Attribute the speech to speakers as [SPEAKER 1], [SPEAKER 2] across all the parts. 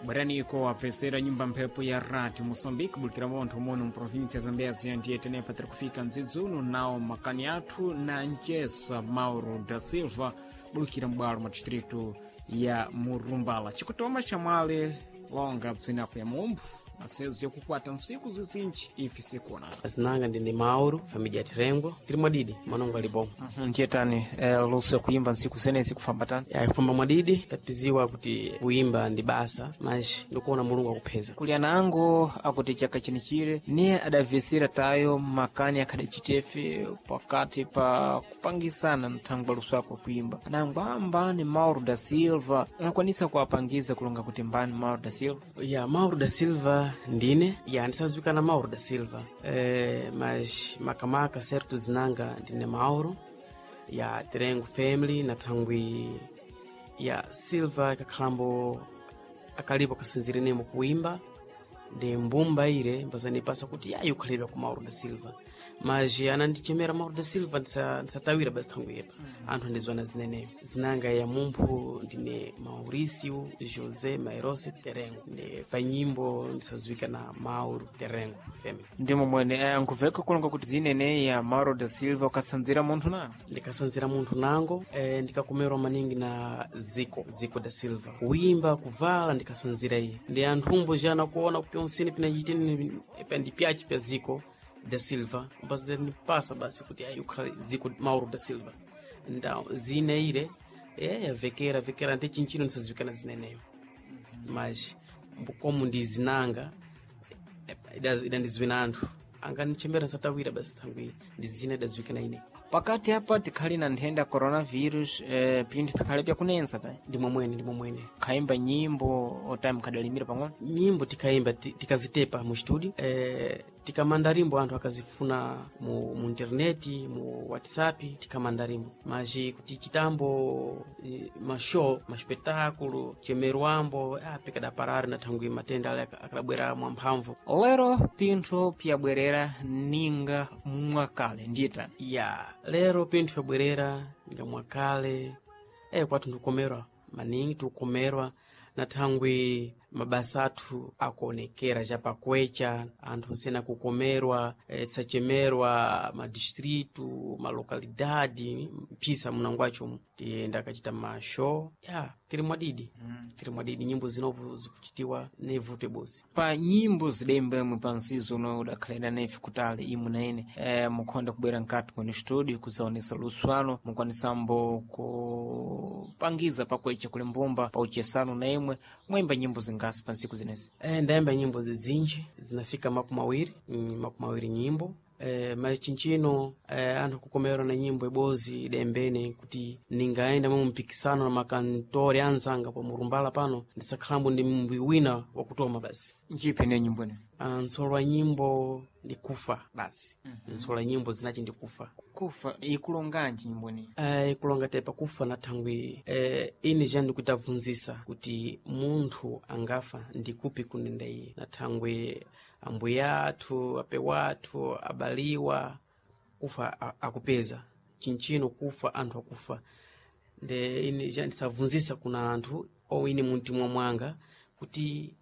[SPEAKER 1] Bweraniko wapfesera nyumba mphepo ya rádio Moçambique, bulikira montho muno mprovíncia ya Zambézia, ndiye tenepa tiri kufika mdzidzuno nawo makani athu na ncesa Mauro da Silva, bulikira m'bwalo mwa distrito ya Murumbala. Chikutoma chamwale longa bzinapo ya mumphu masezo yakukwata ntsiku zizinji ife sikuonana.
[SPEAKER 2] Azinanga ndine Mauro, família ya Tirengo, tiri mwadidi, manongo ali bom.
[SPEAKER 1] Ndiye tani luso yakuimba ntsiku zenezi kufamba tani?
[SPEAKER 2] Ya kufamba mwadidi, tapiziwa kuti kuimba ndi basa, mas ndikuona Mulungu akupheza.
[SPEAKER 1] Kuli anango akuti chaka chinichire niye adavesera tayo makani akhadacitefe pakati pa kupangisana nthangwa luso ako kuimba. Anango ambani Mauro da Silva anakwanisa kuwapangiza kulonga kuti mbani Mauro da Silva?
[SPEAKER 2] Ya Mauro da Silva ndine, ya ndisaziwikana Mauro da Silva. Mas makamaka certo zinanga ndine Mauro ya Tirengo family na thangwi ya Silva ikakhalambo akalipo kasinzirenemo kuimba ndi mbumba ire mbazanipasa kuti yayi ukhalidwa ku Mauro da Silva, mas anandichemera Mauro da Silva ndisatawira basi thangwi yepa. Anthu andizwana zineneyo zinanga ya mumphu ndine Mauricio José Mairose Terengo, ndi pa nyimbo ndisaziwika na Mauro Terengo family.
[SPEAKER 1] Ndimo mwene nkuveka kulonga kuti zinene ya Mauro da Silva ukasanzira munthu nango?
[SPEAKER 2] Ndikasanzira munthu nango, ndikakomerwa maningi na Zico Zico da Silva, kuimba kuvala ndikasanzira iye, ndi anthumbo jana kuona kupyonsini pinachitini ndi pyachi pya Zico da Silva mbazanipasa basi kuti ayi ukhala Zico Mauro da Silva nda zine ire yavekera vekera ndi chinchino ndisaziwikana zineneyo, mas komu ndi zinanga idandiziwina anthu anganichembera nsatawira basi thangwi ndi zina idaziwikana ine.
[SPEAKER 1] Pakati apa tikhali na nthenda coronavirus, pinthu pikhale pyakunensa ta?
[SPEAKER 2] Ndi momwene, ndi momwene.
[SPEAKER 1] Khaimba nyimbo otime khadalimira pang'ono?
[SPEAKER 2] Nyimbo tikayimba tikazitepa mu studio, tikamanda rimbo anthu akazifuna mu interneti, mu WhatsApp tikamanda rimbo, mas kuti chitambo mashow maspetáculo chemerwambo pikadaparari na thangwi matenda ale akadabwera mwamphamvu.
[SPEAKER 1] Lero pinthu pyabwerera ninga mwakale, ndiye tani?
[SPEAKER 2] Ya lero pinthu pyabwerera nga mwakale, kwathu ndikukomerwa maningi, tikukomerwa na thangwi mabasa athu akuonekera chapakwecha anthu sena kukomerwa, tisachemerwa madistritu malokalidadi mphisa munangwacho tiyenda akachita mashow ya tiri mwadidi. Tiri mwadidi, nyimbo zinovu zikuchitiwa nevute bosi.
[SPEAKER 1] Pa nyimbo zidembemwe pa nsizo uno udakhalira nefe kutali imwe na ine, mukhonda kubwera nkati mwene studio kuzaonesa luswano mukwanisambo kupangiza pakwecha kuli mbumba pa uchesano na imwe mwayimba nyimbo zingasi pa ntsiku zinezi?
[SPEAKER 2] Ndayimba nyimbo zizinji zinafika 20, 20 nyimbo. Machinchino anthu akukomerwa na nyimbo ibozi idembene kuti ningaenda mwa mpikisano na makantori anzanga pa Murumbala pano ndisakhalambo ndi mbwi wina wakutoma basi.
[SPEAKER 1] Nchiphi ne nyimbo ine?
[SPEAKER 2] Nsolo wa nyimbo ndi kufa basi. Nsolo wa nyimbo zinachi ndi kufa.
[SPEAKER 1] Kufa ikulonganji nyimbo ine?
[SPEAKER 2] Ikulonga tepa kufa na thangwi ine ja ndikutavunzisa kuti munthu angafa ndikupi kunenda iye na thangwi ambuya athu ape wathu abaliwa kufa akupeza chinchino kufa anthu akufa nde ine ja ndisavunzisa kuna anthu ou ine muntima mwanga kuti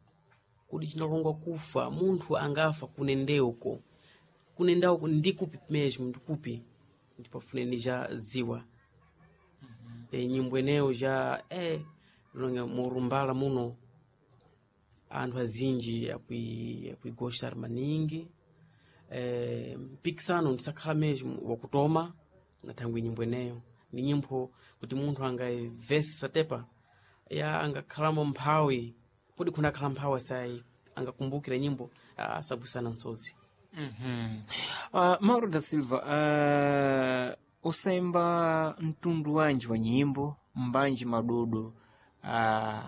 [SPEAKER 2] kudi chinalongwa kufa munthu angafa kunendeuko kunendauko ndikupi mesmo ndikupi ndipafune nija ziwa. Nyimbo eneyo ja longa murumbala muno anthu azinji akuigostar maningi, mpikisano ndisakhala mesmo wakutoma na thangwi nyimbo eneyo ni nyimbo kuti munthu angaivesa tepa ya angakhalamo mphawi kodi khuna akhala mphawi asai angakumbukira nyimbo asabwisana msozi.
[SPEAKER 1] Mauro da Silva, usaimba mtundu wanji wa nyimbo mbanji madodo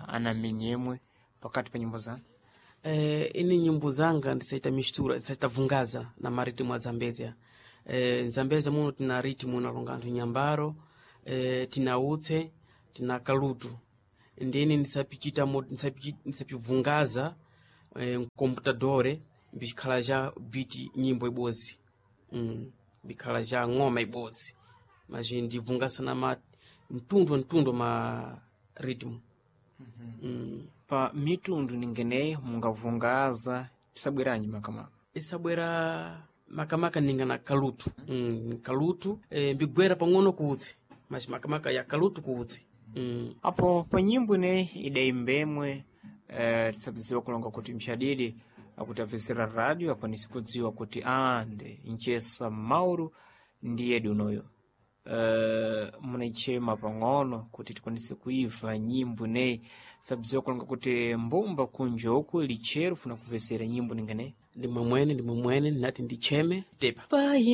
[SPEAKER 1] anamenyemwe pakati pa nyimbo zanu?
[SPEAKER 2] Ini nyimbo zanga ndisaita mistura, ndisaita vungaza na maritimu a Zambezia. Zambezia muno tina ritmu nalonga anthu nyambaro, tina utse tina kalutu, ndini ndisapichita ndisapivungaza mkomputadore bikhala ja biti nyimbo ibozi, bikhala ja ng'oma ibozi, mas ndivungasa na mtundu mtundu ma ritmu.
[SPEAKER 1] Pa mitundu ningeneyi mungavungaza pisabweranji makamaka?
[SPEAKER 2] Isabwera makamaka ninga na kalutu, kalutu mbigwera pang'ono kuutsi, mas makamaka ya kalutu kuutsi.
[SPEAKER 1] Apo pa nyimbo ineyi idaimbemwe, tisabiziwa kulonga kuti mxadidi akuti apvesera radio akwanisi kudziwa kuti ande nchesa Mauro ndiye dunoyo, munaichema pang'ono kuti tikwanise kuiva nyimbo ineyi, sabiziwa kulonga kuti mbumba kunjoku lichero funa kupvesera nyimbo ningeneyi.
[SPEAKER 2] Ndimwe mwene, ndimwe mwene ndinati ndicheme tepa pai.